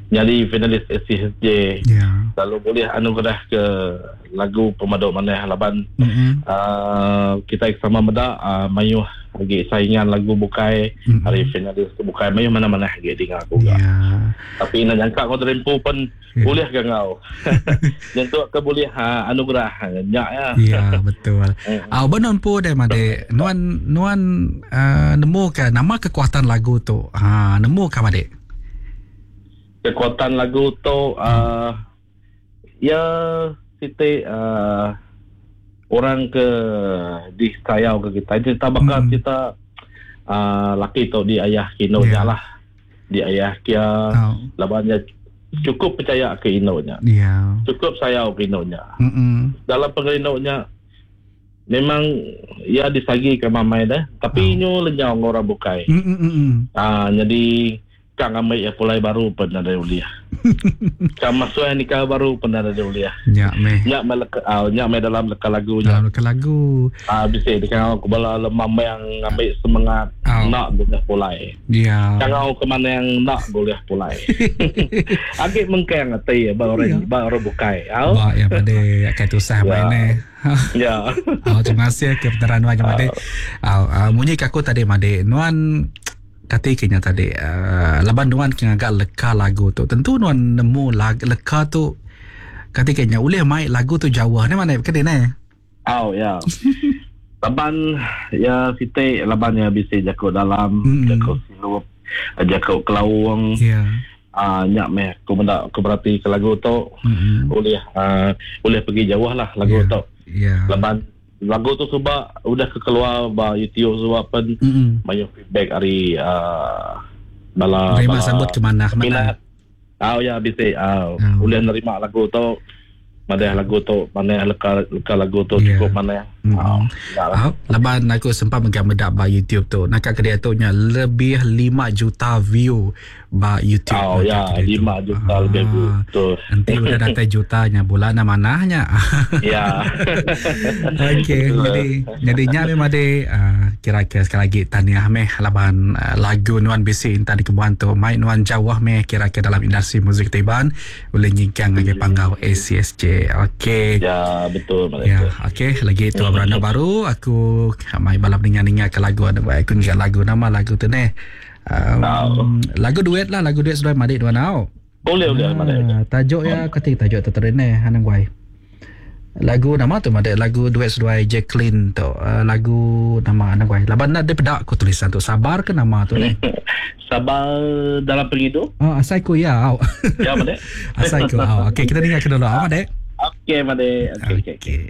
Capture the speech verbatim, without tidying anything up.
Jadi finalis A C S J. Yeah. Lalu boleh anugerah ke lagu pemaduk manah laban mm-hmm. uh, kita sama meda uh, mayuh lagi saingan lagu bukai mm-hmm. hari finalis tu bukai mayuh mana-mana lagi dengar aku yeah. Gak. Tapi nak jangka kau terempu pun yeah. boleh ke ngau. Nyentuk ke boleh ha, anugerah nyak ya. Ya betul. Ah uh, benon pu deh made nuan nuan uh, nemu ke nama kekuatan lagu tu. Ha nemu ka made. Kekuatan lagu tu uh, ya siti uh, orang ke disayau ke kita cerita bakal hmm. cerita uh, laki tu di ayah kino yeah. lah di ayah kia oh. Labannya cukup percaya ke inonya yeah. Cukup sayau ke inonya mm-mm. Dalam pengerinonya memang ia disagi ke mamai dah tapi oh. inyo lenyau orang bukai. Mm-mm. Ah jadi kang ambil ya pulai baru pun ada uliah. Kang masuk yang nikah baru pun ada uliah. Ya meh. Nyak me leka, uh, nyak me dalam leka lagu nya. Dalam leka lagu. Ah bisa dekat aku bala lemam yang ambil semangat oh. nak boleh pulai. Ya. Kang ke mana yang nak boleh pulai. Agak mengkang ati ba orang ba orang bukai. Au. Ba ya pada akan tusah Ya. main eh. Ya. Oh, terima kasih ke peneran nuan made. Ah munyi aku tadi made. Nuan kata kenya tadi uh, laban nuan kena agak leka lagu tu tentu nuan nemu lag, leka tu kata kenya boleh mai lagu tu jauh ni mana kena ni oh ya laban ya siti laban ya bisi jakuk dalam mm. jakuk silup jakuk kelawang ya yeah. Ah nyak meh aku benda aku berarti ke lagu tu mm-hmm. boleh uh, boleh pergi jauh lah lagu yeah. tu ya yeah. Laban lagu tu sebab udah keluar ba YouTube sebab pun mm-hmm. banyak feedback hari uh, bala terima bala sambut ke mana mana oh ya bisa uh, Oh. boleh nerima lagu tu mana lagu tu mana leka leka lagu tu Yeah. cukup mana Mm. oh, ya lah. Oh, laban aku sempat menggambar ba YouTube tu. Nak ke dia tu nya lebih lima juta view ba YouTube. Oh ya, Ke dia tu. lima juta Ah. lebih view. Betul. Nanti udah datang jutanya bulan manahnya. Ya. Okey, Betul. jadi jadinya memang ada uh, kira-kira sekali lagi tahniah meh laban uh, lagu Nuan Bisi Intan di Kebuan tu mai Nuan jauh meh kira-kira dalam industri muzik Tiban boleh nyingkang lagi panggau A C S J. Okey. Ya, betul Mak Ya, Dato. okey. Lagi tu beranda baru aku mai balap dengar-dengar ke lagu ada baik aku ingat lagu nama lagu tu ni. Um, lagu duet lah, lagu duet sudah madik dua nau. Boleh boleh Mak Dato. Ah, tajuk ya kata tajuk tu tadi ni hanang guai. Lagu nama tu madik lagu duet seduai Jacqueline tu. Uh, lagu nama hanang guai. Laban nak dia pedak aku tulisan tu sabar ke nama tu ni. Sabar dalam penghidup. Oh, asai ku ya. Au. Ya, Mak Dato. Asai ku. Au. Okey, kita dengar ke dulu. Au, Mak Dek. Okey, Mak Dek. Okey, okey. Okey.